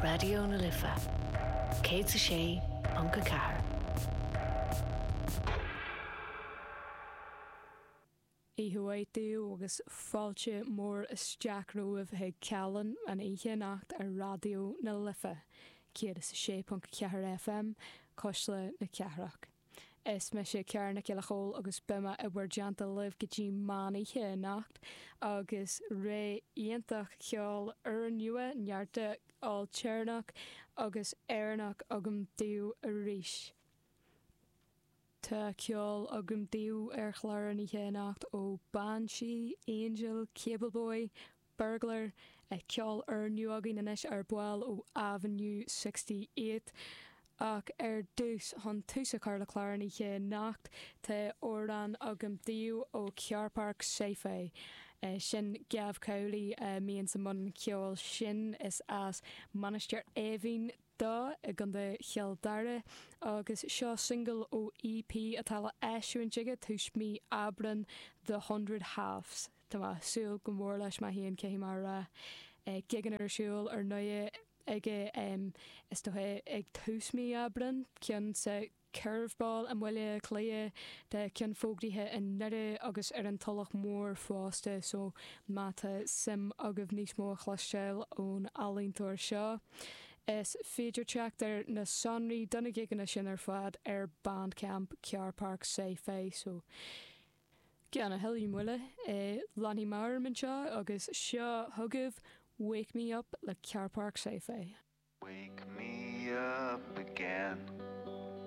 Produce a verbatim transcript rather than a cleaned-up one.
Raidió na Life céad a sé ponc a ceathair. Oíche mhaith daoibh agus fáilte mór isteach romhaibh chuig Callán an oíche anocht ar Raidió na Life, céad is a sé ponc ceathair FM, Cuisle na Cathrach. Is mise Ciara Nic Giolla Chóill agus beidh mé i bhur dteannta libh go dtí meán oíche anocht agus ré iontach ceoil úrnua, neart ailtéarnach agus Éireannach agam daoibh arís. Tá ceol agam daoibh ar chlár an oíche anocht ó Banshee, Angel, Cable Boy, Burglar, ceol úrnua againn anois ar ball ó Avenue sixty eight. Ach ar dtús, chun tús a chur le clár an oíche anocht, tá amhrán agam daoibh ó Carpark Sci-Fi. Sin Gav Cowley a mbíonn sa mbun ceoil sin. Is as Mainistir Eimhín dó i gContae Chill Dara agus seo singil ó EP atá le eisiúint aige tús mí Aibreán, The Hundred Halves. Tá mé ag súil go mór leis mé féin, caithfidh mé a rá. Gigeanna ar siúl ar ndóigh aige is dócha ag tús mí Aibreán, ceann sa Curveball i mBaile Átha Cliath, tá ceann fógraithe i nDoire agus ar an Tulach Mhór fosta so má tá suim agaibh níos mó a chloisteáil ón ealaíontóir seo, is féidir teacht ar na sonraí do na gigeanna sin ar fad ar Bandcamp Carpark Sci-Fi so gan a thuilleadh moille, leanfaidh mé orm anseo agus seo chugaibh Wake Me Up le Carpark Sci-Fi. Wake me up again.